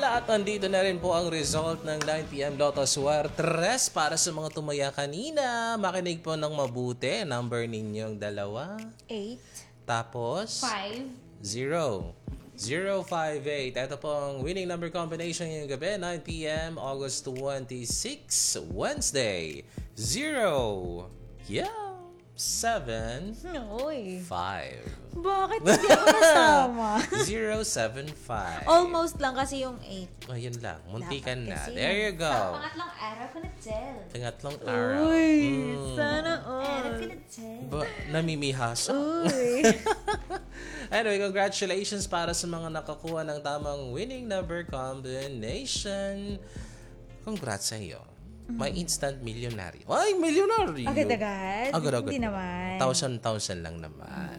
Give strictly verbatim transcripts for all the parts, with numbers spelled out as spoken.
At nandito na rin po ang result ng nine p.m. Lotto Suertres para sa mga tumaya kanina. Makinig po ng mabuti. Number ninyong dalawa. Eight. Tapos? Five. Zero. Zero five eight. Ito po ang winning number combination ngayong gabi, nine p.m., August twenty-six, Wednesday. Zero. Yeah. Seven. Uy. Five. Bakit hindi ako nasama? Zero seven five. Almost lang kasi yung eight. Oh, yun lang. Muntikan na. There you go. Sa pangatlong araw ko na, Jel. Pangatlong araw. Uy, sana all. Araw ko na, Jel. Ba, namimihasa. Uy. Anyway, congratulations para sa mga nakakuha ng tamang winning number combination. Congrats sa iyo. May instant milyonaryo. Ay, milyonaryo. Agad-agad? Agad-agad. Hindi naman. Thousand, thousand lang naman.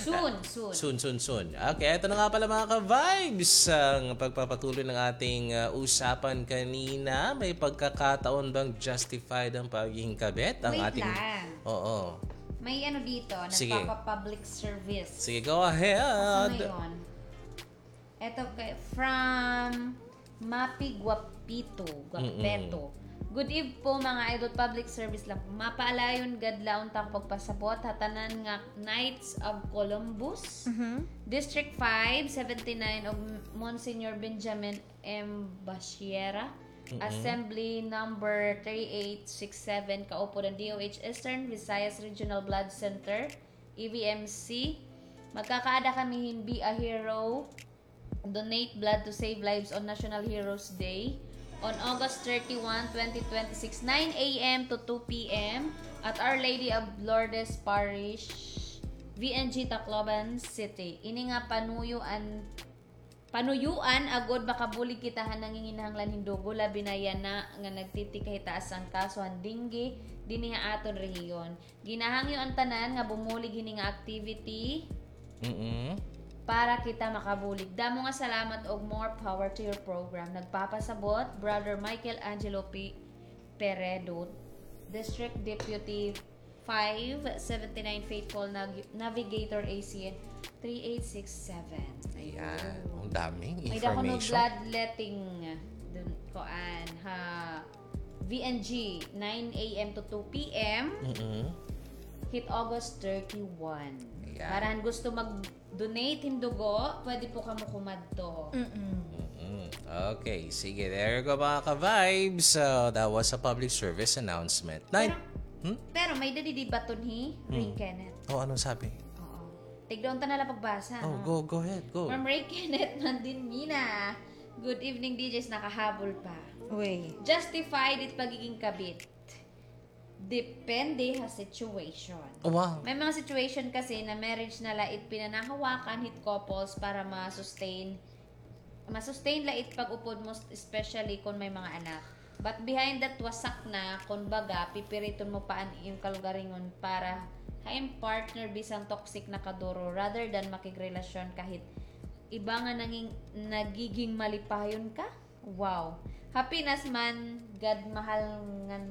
Soon, soon. Soon, soon, soon. Okay, ito na nga pala, mga ka-vibes, ang pagpapatuloy ng ating, ah, usapan kanina. May pagkakataon bang justified ang pagiging kabit? Ang ating... Wait lang. Oo. May ano dito, nagpapa-public service. Sige, go ahead. Ito kay, from Mapi Guapito, Guapeto. Good eve po, mga idol. Public service lang po. Mapaalayon gad la unta ko pagpasabot ha tanan nga Knights of Columbus, District five, seventy-nine, ug Monsignor Benjamin M. Basiera, Assembly Number thirty-eight sixty-seven, kaupod han D O H Eastern Visayas Regional Blood Center, E V M C. Magkakaada kami hin Be a Hero, Donate Blood to Save Lives on National Heroes Day on August thirty-one, twenty twenty-six, nine a.m. to two p.m. at Our Lady of Lourdes Parish, V N G, Tacloban City. Ini nga panuyoan, panuyoan agod makabulig kita han nanginginahanglan hin dugo, labi na yana nga nagtitikahitaas an kaso han dengue dinhi ha aton rehiyon. Ginahangyo an tanan nga bumulig hini nga activity para kita makabulig. Damo nga salamat ug more power to your program. Nagpapasabot, Brother Michael Angelo P. Peredo, District Deputy five seventy-nine, Faithful Nag-, Navigator A C N three eight six seven. Ayan. Ang daming information. May dako nga bloodletting dun, kuan, ha V N G, nine a.m. to two p.m. Hit August thirty-one. Ayan. Para han gusto mag-donate hin dugo, pwede po kamo kumadto. Mm-mm. Okay, sige. There you go, mga ka-vibes. So, that was a public service announcement. Pero, pero may dadidibaton hi Ray Kenneth. Oh, anong sabi? Oo. Tigda unta na la pagbasa, no? Go, go ahead, go. From Ray Kenneth Mandinmina. Good evening, D Js. Nakahabol pa. Uy. Justified it pagiging kabit. Depende ha situation. Wow. May mga situation kasi na marriage na la it pinanahawakan hit couples para ma-sustain, ma-sustain la it pag-upod mo, especially kon may mga anak. But behind that, wasak na, kon baga, pipiriton mo pa an iyong kalugaringon para ha iyong partner bisan toxic na kaduro rather than makigrelasyon ka hit iba nga nanging-, nagiging malipayon ka. Wow. Happiness man gad mahal ngan